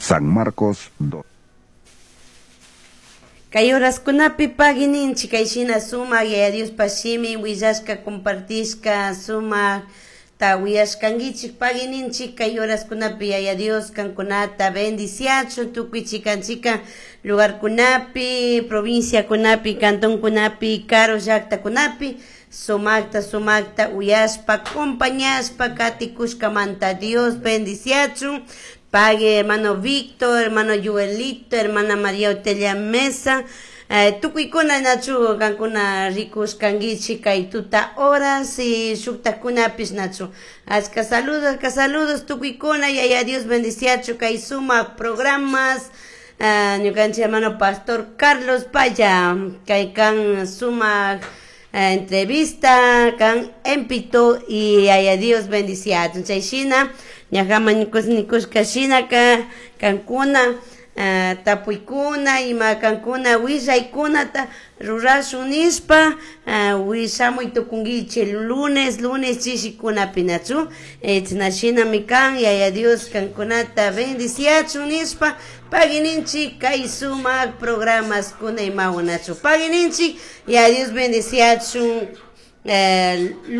San Marcos 2. Kay horaskunapi pagui ninchik kay shina sumak Yaya Diospa shimi willashka compartishka sumakta uyashkankichik. Pagui ninchik kay horaskunapi Yaya Dios kankunata bendiciachun tukuy chikan chikan lugarkunapi, provinciakunapi, cantonkunapi, karu llaktakunapi sumakta sumakta uyashpa acompañashpa katikushkamanta Dios bendiciachun. Pague hermano Víctor, hermano Joelito, hermana María Otelia Mesa, tukuykuna nachu kankuna rikushkankichik kay tuta horas y shuktakunapish nachu. Achka saludos, achka saludos tukuykuna, Yaya Dios bendiciachu kay sumak programas. Ñukanchik hermano Pastor Carlos Paya, kay kan sumak entrevista kan Empito y Yaya Dios bendiciachun. Chay shina ñajaman nikushka shinaka kankuna tapuykuna ima kankuna willaykunata rurashun nishpa wishamuy tukunkichik lunes lunes chishikunapi nachu. Chashna shinami kan Yaya Dios kankunata bendiciachun nishpa pagui ninchik kay sumak programas kuna imawan nachu. Pagui ninchik Yaya Dios bendiciachun.